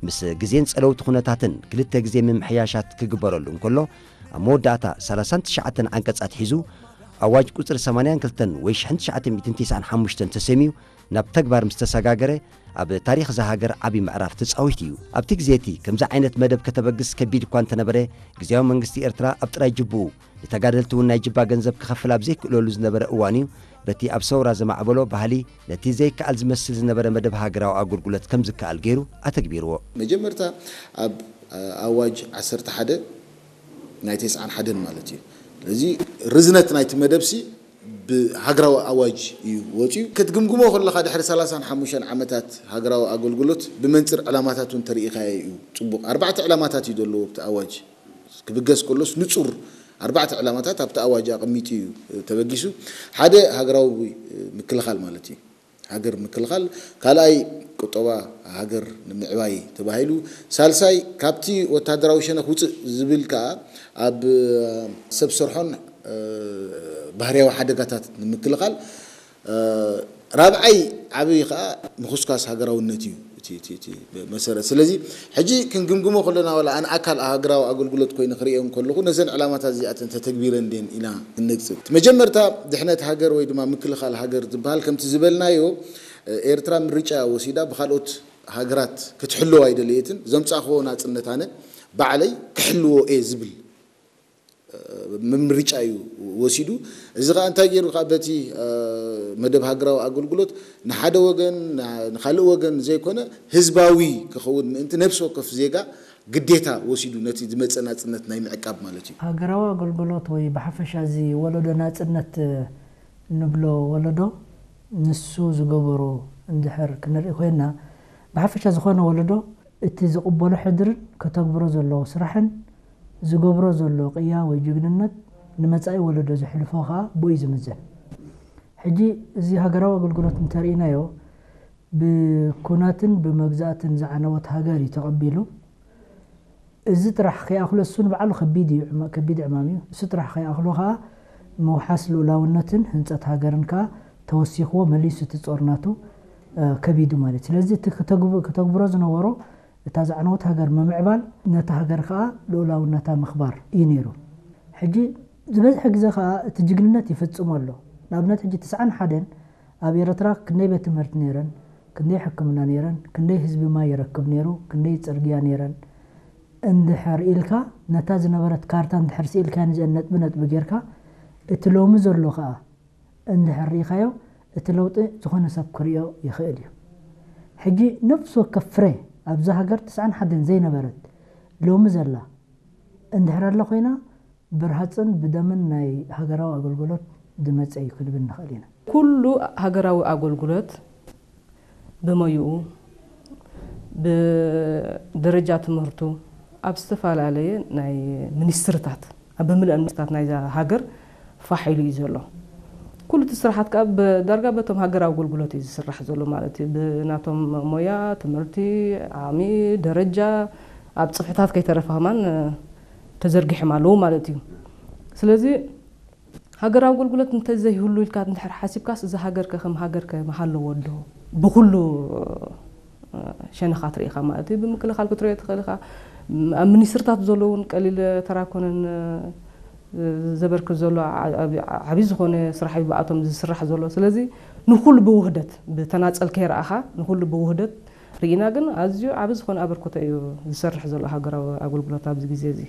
ምስ ግዜን ጸለውቲ ኩነታትን ክልተ ግዜ ምምሕያሻት ክግበረሉ እንከሎ፣ ኣብ መወዳእታ ሰላሳን ትሽዓተን ዓንቀጽ ኣትሒዙ ኣዋጅ ቁጽሪ ሰማንያን ክልተን ወይ ሽሕን ትሽዓተ ሚእትን ተስዓን ሓሙሽተን ተሰምዩ ናብ ተግባር ምስ ተሰጋገረ፣ ኣብ ታሪኽ እዛ ሃገር ዓቢ ምዕራፍ ተጻዊቱ እዩ። ኣብቲ ግዜ እቲ ከምዚ ዓይነት መደብ ከተበግስ ከቢድ እኳ እንተነበረ፣ ግዜያዊ መንግስቲ ኤርትራ ኣብ ጥራይ ጅቡኡ፣ ንተጋደልቲ እውን ናይ ጅባ ገንዘብ ክኸፍል ኣብ ዘይክእለሉ ዝነበረ እዋን እዩ፣ በቲ ኣብ ሰውራ ዘማዕበሎ ባህሊ፣ ነቲ ዘይከኣል ዝመስል ዝነበረ መደብ ሃገራዊ ኣገልግሎት ከም ዝከኣል ገይሩ ኣተግቢርዎ። መጀመርታ ኣብ ኣዋጅ ዓሰርተ ሓደ ናይ ተስዓን ሓደን ማለት እዩ። ስለዚ ርዝነት ናይቲ መደብሲ ብሃገራዊ ኣዋጅ እዩ ወፂኡ። ክትግምግሞ ከለኻ ድሕሪ ሰላሳን ሓሙሽተን ዓመታት ሃገራዊ ኣገልግሎት ብመንፅር ዕላማታት እውን ተሪኢኻዮ እዩ። ፅቡቕ ኣርባዕተ ዕላማታት እዩ ዘለዎ ኣብቲ ኣዋጅ። ክብገስ ከሎስ ንጹር ኣርባዕተ ዕላማታት ኣብቲ ኣዋጅ ኣቐሚጡ እዩ ተበጊሱ። ሓደ ሃገራዊ ምክልኻል ማለት እዩ። ሃገር ምክልኻል፣ ካልኣይ ቁጠባ ሃገር ንምዕባይ ተባሂሉ፣ ሳልሳይ ካብቲ ወታደራዊ ሸነኽ ውፅእ ዝብል ከኣ ኣብ ሰብ ሰርሖን ባህርያዊ ሓደጋታት ንምክልኻል፣ ራብዓይ ዓብይ ከዓ ምኹስኳስ ሃገራውነት እዩ እቲ መሰረት። ስለዚ ሕጂ ክንግምግሞ ከለና ዋላ ኣን ኣካል ሃገራዊ ኣገልግሎት ኮይኑ ክርእዮ ከለኹ ነዘን ዕላማታት እዚኣተን ተተግቢረን ድን ኢና ክንነግፅብ። መጀመርታ ድሕነት ሃገር ወይ ድማ ምክልኻል ሃገር ዝበሃል ከምቲ ዝበልናዮ ኤርትራ ምርጫ ወሲዳ ብካልኦት ሃገራት ክትሕልዎ ኣይደለየትን። ዘምፃእክዎ ናፅነት ኣነ ባዕለይ ክሕልዎ እየ ዝብል ምምርጫ እዩ ወሲዱ። እዚ ከዓ እንታይ ገይሩ ከዓ በቲ መደብ ሃገራዊ ኣገልግሎት ንሓደ ወገን ንካልእ ወገን ዘይኮነ ህዝባዊ ክኸውን ምእንቲ ነብሲ ወከፍ ዜጋ ግዴታ ወሲዱ ነቲ ዝመፀ ናፅነት ናይ ምዕቃብ ማለት እዩ። ሃገራዊ ኣገልግሎት ወይ ብሓፈሻ እዚ ወለዶ ናፅነት ንብሎ ወለዶ ንሱ ዝገበሮ እንድሕር ክንርኢ ኮይና ብሓፈሻ ዝኾነ ወለዶ እቲ ዝቕበሎ ሕድርን ከተግብሮ ዘለዎ ስራሕን ዝገብሮ ዘሎ ቅያ ወይ ጅግንነት ንመጻኢ ወለዶ ዘሕልፎ ከኣ ብኡ እዩ ዝምዘን። ሕጂ እዚ ሃገራዊ ኣገልግሎት እንተርኢናዮ ብኩናትን ብመግዛእትን ዝዓነወት ሃገር እዩ ተቐቢሉ። እዚ ጥራሕ ከይኣኽሎ እሱ ንባዕሉ ከቢድ እዩ፣ ከቢድ ዕማም እዩ። እሱ ጥራሕ ከይኣኽሎ ከኣ ምውሓስ ልኡላውነትን ህንጸት ሃገርን ከኣ ተወሲኽዎ መሊሱ እቲ ጾር ናቱ ከቢዱ ማለት እዩ። ስለዚ እቲ ክተግብሮ ዝነበሮ እታ ዝዓነወት ሃገር ምምዕባል፣ ነታ ሃገር ከኣ ልኡላውነታ ምኽባር እዩ ነይሩ። ሕጂ ዝበዝሐ ግዜ ከኣ እቲ ጅግንነት ይፍጽሞ ኣሎ። ንኣብነት ሕጂ ትስዓን ሓደን ኣብ ኤረትራ ክንደይ ቤት ትምህርቲ ነይረን፣ ክንደይ ሕክምና ነይረን፣ ክንደይ ህዝቢ ማይ ይረክብ ነይሩ፣ ክንደይ ጽርግያ ነይረን እንድሕር ኢልካ ነታ ዝነበረት ካርታ እንድሕር ስኢልካ ንዚአን ነጥቢ ነጥቢ ጌርካ እቲ ሎሚ ዘሎ ከኣ እንድሕር ርኢኻዮ፣ እቲ ለውጢ ዝኾነ ሰብ ክርእዮ ይኽእል እዩ። ሕጂ ነፍሲ ወከፍ ፍረ ኣብዛ ሃገር ትስዓን ሓደን ዘይነበረት ሎሚ ዘላ እንድሕር ኣላ ኮይና፣ ብርሃጽን ብደምን ናይ ሃገራዊ ኣገልግሎት ዝመጸ እዩ ክንብል ንኽእል ኢና። ኩሉ ሃገራዊ ኣገልግሎት ብሞይኡ፣ ብደረጃ ትምህርቱ፣ ኣብ ዝተፈላለየ ናይ ሚኒስትርታት፣ ኣብ ብምልአን ሚኒስትርታት ናይዛ ሃገር ፋሕ ኢሉ እዩ ዘሎ። ኩሉ እቲ ስራሓት ከዓ ብ-፣ ዳርጋ በቶም ሃገራዊ ኣገልግሎት እዩ ዝስራሕ ዘሎ ማለት እዩ። ብናቶም ሞያ፣ ትምህርቲ፣ ዓቕሚ፣ ደረጃ፣ ኣብ ጽፍሕታት ከይተረፈ ከማን ተዘርጊሖም ኣለዉ ማለት እዩ። ስለዚ ሃገራዊ ኣገልግሎት እንተዘይህሉ ኢልካ እንድሕር ሓሲብካስ፣ እዛ ሃገር ከ ከም ሃገር ከ ምሃለዎ ዶ? ብኹሉ ሸነኻት ርኢኻ ማለት እዩ። ብምክልኻል ክትሪኦ ትኽእል ኢኻ። ኣብ ሚኒስትርታት ዘሎ እውን ቀሊል ተራ ኮነን፣ ዘበርክት ዘሎ ዓ-፣ ዓብ-፣ ዓብዪ ዝኾነ ስራሕ እዩ ብኣቶም ዝስራሕ ዘሎ። ስለዚ ንኹሉ ብውህደት፣ ብተናጸል ከይረኣኻ ንኹሉ ብውህደት ርኢና ግን ኣዝዩ ዓቢ ዝኾነ ኣበርክቶ እዩ ዝሰርሕ ዘሎ ሃገራዊ ኣገልግሎት ኣብዚ ግዜ እዚ።